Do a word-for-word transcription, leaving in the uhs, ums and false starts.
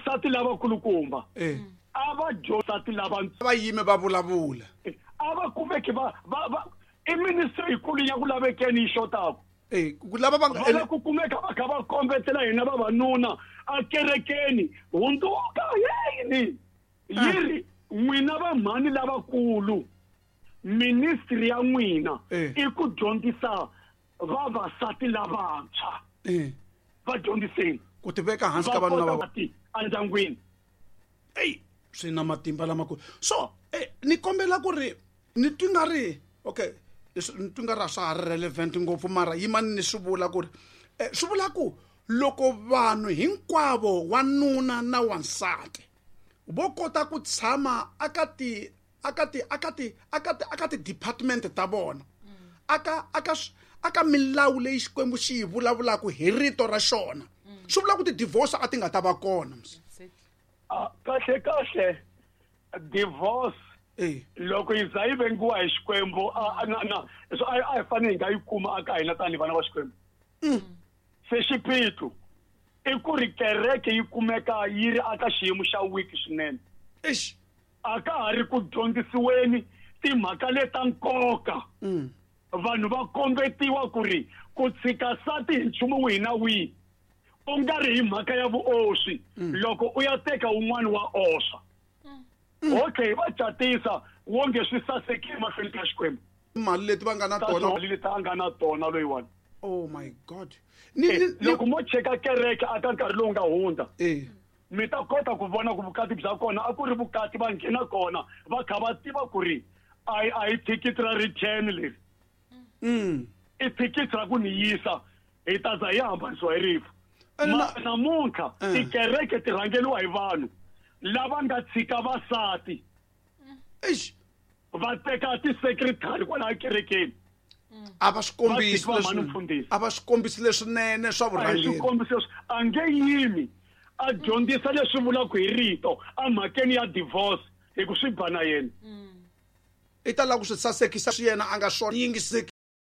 Vavasati lavakulukumba Eh. a va dyondzati lava Va yime va vulavula. A va kumeki va va va i ministry yikulu ya ku lavekeni yi xotaka. Eh, ku lava va nga Va la ku kumeka va kha va kombetela hina vavanuna akerekeni, hundzuka yini yi ri n'wina vamhani lavakulu, ministry ya n'wina Eh. i ku dyondzisa vavasati lavantshwa. Eh. Va dyondziseni ku tiveka hansi ka va vanhu lava kota ti endyangwini. Ey, swi na matimba lamakulu. So eh, ni kombela ku ri ni twi nga ri okay, leswi ni twi nga ri a swa ha ri relevant ngopfu, mara yimani ni swi vula ku ri eh, swi vula ku loko vanhu hinkwavo, wanuna na wansati, vo kota ku tshama aka ti aka ti aka ti aka ti aka ti-department ta vona, aka aka sw- aka milawu leyi Xikwembu xi yi vulavulaka hi rito ra xona, swi vula ku ti-divorce a ti nga ta va kona mos. Ah, kahle kahle divorce Eh. loko yi za yi vengiwa hi Xikwembu, a- a- na na so a a hi fanele hi nga yi kuma aka hina tanihi vana va Xikwembu. Se xiphiqo i ku ri kereke yi kumeka yi ri aka xiyimo xa weak swinene. Eish. A ka ha ri ku dyondzisiweni timhaka leta nkoka. Mm. Vanhu va kombetiwa ku ri ku tshika nsati hi nchumu wihi na wihi u nga ri hi mhaka ya vuoswi, loko u ya teka wun'wani wa oswa, okay, va catisa wonge swi sasekile mahlweni ka Xikwembu. Mali leti va nga na Ta tona. mali leti a nga na tona loyiwani. Oh my God, ni Eh, ni ni loko mo cheka kereke aka nkarhi lowu nga hundza, eh mi ta kota ku vona ku vukati bya kona a ku ri vukati va nghena kona va kha va tiva ku ri a hi a hi thikithi ra return leri. Mm. I thikithi ra ku ni yisa, hi ta za hi hambanisiwa hi rifu. Ene Ma- na- namuntlha Eh. tikereke ti rhangeliwa hi vanhu lava nga tshika vasati, Eish. va teka ti-secretary kwalaha kerekeni. A va swi kombisi Va tshika leswi- mhani mfundhisi. A va swi kombisi leswinene swa A hi vurhangeri. swikombiso leswi a nge yimi a dyondzisa leswi vulaka hi rito emhakeni ya divorce hi ku swi ba na yena. I ta lava ku swi sasekisa swi yena a nga swona yingiseki.